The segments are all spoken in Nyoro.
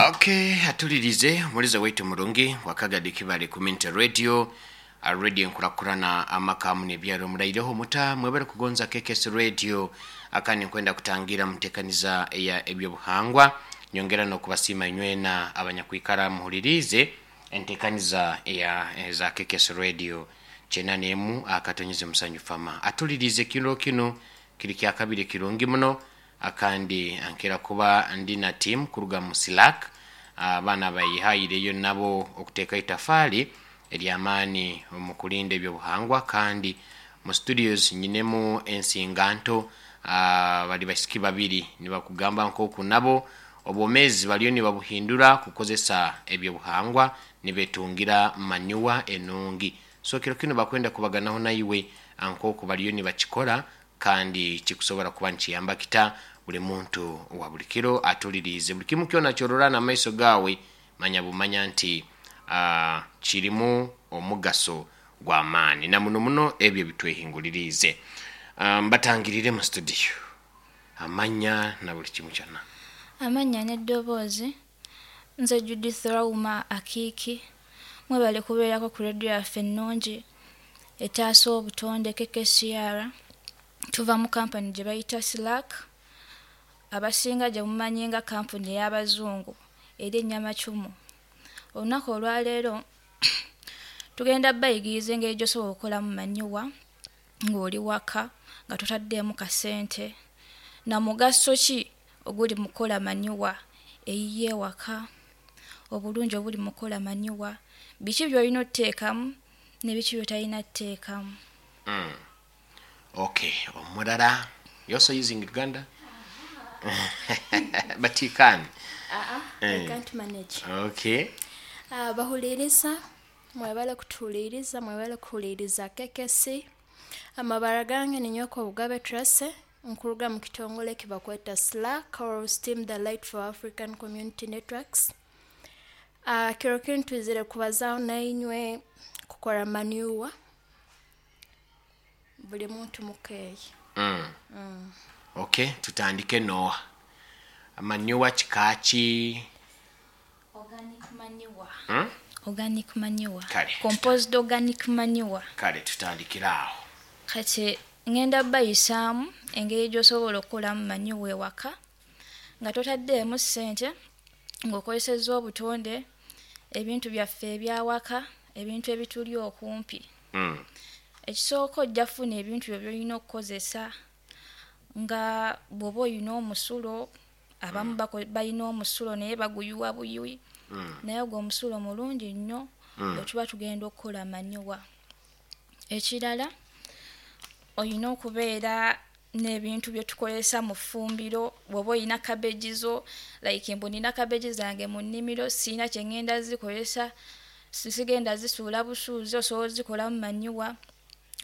Okay, atulirize mulize waitu murungi wakagadi kibale kuminta radio, radio nkurakurana amakamu nebyaro muraireho muta mwebere kugonza KKS Radio akani nkwenda kutangira mutekaniza ya ebyobuhangwa nyongera no kubasima inywena abanyakwikara muhulirize entekaniza ya za KKS Radio 91 akatonyeze musanyu fama atulirize kino kino kiri kya kabiri kirungi muno akandi ankera kuba ndi na team kuruga mu Slack abaana bayihayireyo nabo okuteeka itafaali eryamaani mu kulinda ebyobuhangwa kandi mu studios nyinemu ensinganto bali basiki babiri nibakugamba nkoku nabo obwomezi baliyo nibabuhindura kukozesa ebyobuhangwa nibetungira manyuwa enungi. So kiro kino bakwenda kubaganaho naiwe ankoku baliyo nibakikora kandi kikusobora kuba nikiyamba kita buli muntu wa buli kiro atulirize buli kimu kyona kyorora n'amaiso gawe manya bumanya nti kirimu omugaso gw'amaani na muno muno ebyo bitwehingulirize. Mbatangirire mu studio amanya na buli kimu kyonna. Amannya n'eddoboozi, nze Judith Rauma Akiiki, mwebale kubeerako ku radio yaffe ennungi etaasa obutonde KKCR. Tuva mu kampani gye bayita Slack, abasinga gye mumanyi nga kampuni ey'abazungu eri ennyamacumu. Olunaku olwaleero tugenda bayigiriza engeri gy'osobola okukolamu manyuwa ng'oli waka nga totaddeemu kasente, na mugaso ki oguli mu kukola manyuwa eyiyo ewaka, obulungi obuli mu kukola manyuwa, biki by'olina otteekamu ne biki by'otalina tteekamu. Okay, omulala, you also using Uganda? But you can. I can't manage. Okay. Bahuliriza, mwebale kutuhuliriza, mwebale kuhuliriza KKC. Amabara gange ni Nyoko Bugabe Tracy, nkuruga mu kitongole kibakweta Slack or Steam the Light for African Community Networks. Kiro kinu twizire kubazaaho nainywe kukora manyuwa buli muntu mukeeyi. Okay, tutandike noa manyuwa kikaaki? Organic manure. Hmm? Organic manure. Kale. Composed organic manure. Kale tutandikire awo. Kati ngenda bayisaamu engeri gy'osobola okukolamu manyuwa ewaka nga totaddeemu ssente, ng'okozesezza obutonde, ebintu byaffe ebyawaka, ebintu ebituli okumpi. Ekisooka ojja kufuna ebintu byo by'olina okukozesa nga bw'oba oyina omusulo, abamu balina omusulo naye baguyiwa buyiwi, naye ogwo omusulo mulungi nnyo bwe tuba tugenda okukola manyuwa. Ekirala oyina okubeera n'ebintu bye tukozesa mu ffumbiro, bw'oba oyina cabbage zo, like mbu nina cabbage zange mu nnimiro siyina kye ŋŋenda zikozesa, sigenda zisuula busuuzi, osobola ozikolamu manyuwa.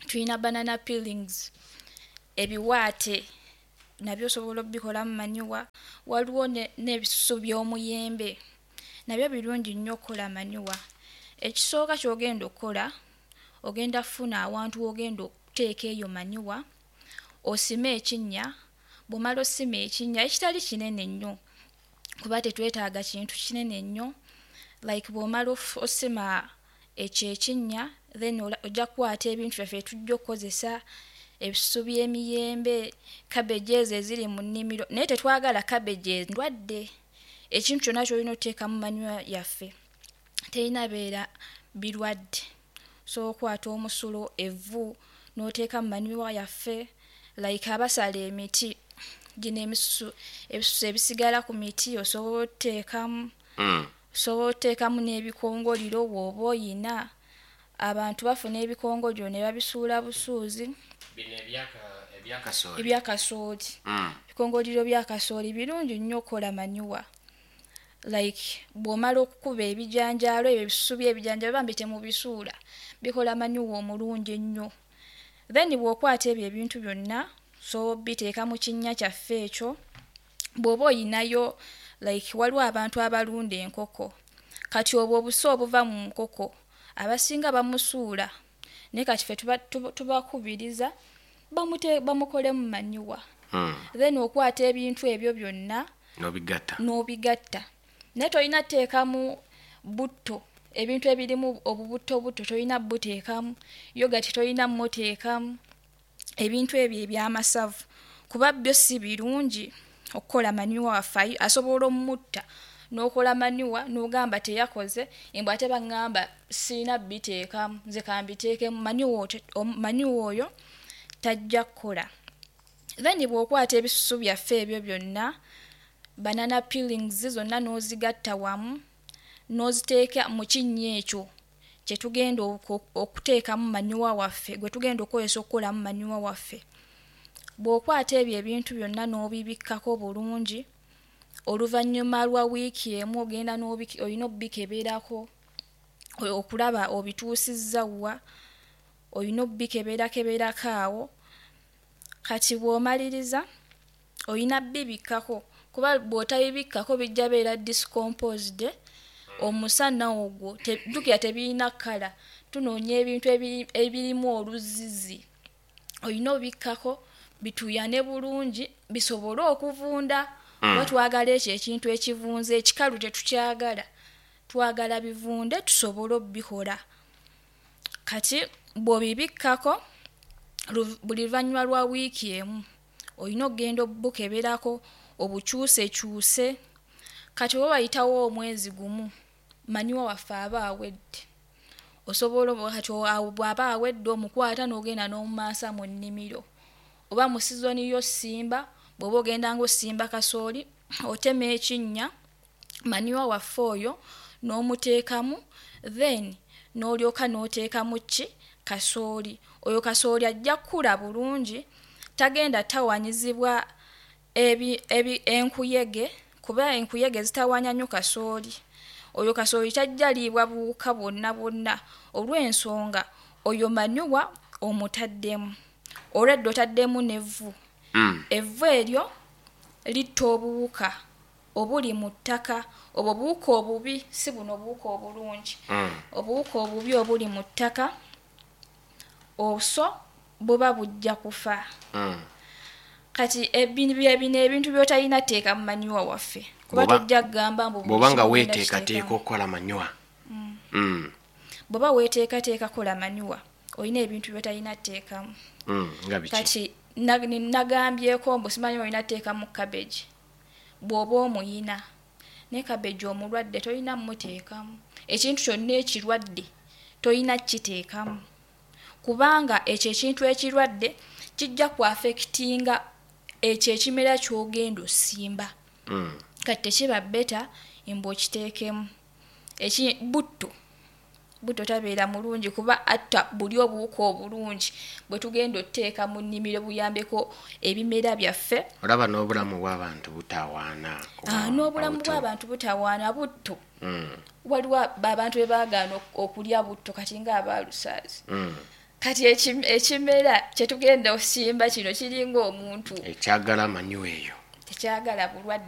Tuyina banana peelings, ebiwaate nabyo osobola obbikolamu manyuwa. Waliwo n'ebisusu by'omuyembe nabyo birungi nnyo okukola manyuwa. Ekisooka ky'ogenda okukola, ogenda kufuna awantu w'ogenda okuteeka eyo manyuwa, osime ekinnya, bw'omala osima ekinnya ekitali kinene nnyo kuba tetwetaaga kintu kinene nnyo, like bw'omala osima ekyo ekinnya then ojja kukwata ebintu byaffe tujja okukozesa, ebisusu by'emiyembe, cabbage ezo eziri mu nnimiro, naye tetwagala cabbage endwadde. Ekintu kyonna ky'olina otteeka mu manyuwa yaffe terina beera birwadde. So okwata omusulo, evvu n'oteeka mu manyuwa yaffe, like abasala emiti gino emisusu, ebisusu ebisigala ku miti osobola otteekamu, osobola otteekamu n'ebikongoliro bw'oba oyina. Abantu bafuna ebikongoliro ne babisuula busuuzi. Bino ebyakasooli. Ebyakasooli. Ebikongoliro byakasooli birungi nnyo okukola manyuwa. Like bw'omala okukuba ebijanjaalo ebyo ebisusu by'ebijanjaalo bambi temubisuula, bikola manyuwa omulungi ennyo. Then bw'okwata ebyo ebintu byonna so biteeka mu kinnya kyaffe ekyo, bw'oba oyinayo like waliwo abantu abalunda enkoko, kati obwo obusa obuva mu nkoko abasinga bamusuula, naye kati ffe tubakubiriza bamukolemu manyuwa. Then okwata ebintu ebyo byonna N'obigatta. N'obigatta, naye tolina teekamu butto. Ebintu ebirimu obubutto butto tolina buteekamu, yogati tolina muteekamu, ebintu ebyo ebyamasavu, kuba byo si birungi okukola manure waffe. Asobola omutta n'okola manure n'ogamba teyakoze embw ate baŋŋamba siina biteekamu, nze kambiteekemu manure. Manure oyo tajja kukola. Then bw'okwata ebisusu byaffe ebyo byonna, banana peelings zonna, n'ozigatta wamu n'oziteeka mu kinnya ekyo kyetugenda okuteekamu manure waffe gwe tugenda okukozesa okukolamu manure waffe. Bw'okwata ebyo ebintu byonna n'obibikkako bulungi, oluvannyuma lwa wiiki emu ogenda olina obikeberako okulaba obituusizza wa. Olina obikeberakeberako awo. Kati bw'omaliriza olina bibikkako, kuba bw'otabibikkako bijja beera decomposed. Omusana ogwo, jjukira tebirina kkala, tunoonya ebintu ebirimu oluzizi. Olina obikkako bituuyane bulungi bisobole okuvunda, kuba twagala ekyo ekintu ekivunze. Ekikalu tetukyagala, twagala bivunde tusobole obikola. Kati bw'obibikkako, buli luvannyuma lwa wiiki emu olina okugenda obukeberako, obukyusekyuse. Kati oba wayitawo omwezi gumu, manure waffe aba awedde. Osobola, kati awo bw'aba awedde, omukwata n'ogenda n'omumansa mu nnimiro oba mu sizoni y'ossimba. Bw'oba ogenda ng'osimba kasooli, otema ekinnya, manure waffe oyo n'omuteekamu, then n'olyoka n'oteekamu ki? Kasooli. Oyo kasooli ajja kkula bulungi, tagenda tawanyizibwa enkuyege, kuba enkuyege zitawaanya nnyo kasooli. Oyo kasooli tajja liibwa buwuka bwonna bwonna, olw'ensonga oyo manure omutaddemu olwedde, otaddemu n'evvu. Evvu eryo litta obuwuka obuli mu ttaka, obwo buwuka obubi, si buno obuwuka obulungi. Obuwuka obubi obuli mu ttaka oso buba bujja kufa. Kati bye bino ebintu by'otalina teeka mu manure waffe, kuba tojja kugamba mbu buli Bw'oba nga kimu ogenda weeteekateeka kiteekamu. okukola manure. Bw'oba weeteekateeka kola manure, olina ebintu by'otalina teekamu. Nga biki? Kati nagambyeko mbu simanyi olina teekamu cabbage bw'oba omuyina, naye cabbage omulwadde tolina muteekamu. Ekintu kyonna ekirwadde tolina kiteekamu, kubanga ekyo ekintu ekirwadde kijja ku affectinga ekyo ekimera ky'ogenda osimba. Kati tekiba better mbu okiteekemu. Butto, butto tabeera mulungi, kuba atta buli obuwuka obulungi bwe tugenda otuteeka mu nnimiro buyambeko ebimera byaffe. Olaba n'obulamu bw'abantu butawaana. Ah, n'obulamu bw'abantu butawaana butto. Waliwo abantu be baagaana okulya butto, kati nga abaalusaazi. Kati ekimera kyetugenda osimba kino kiringa omuntu. Ekyagala manure eyo. Tekyagala bulwadde.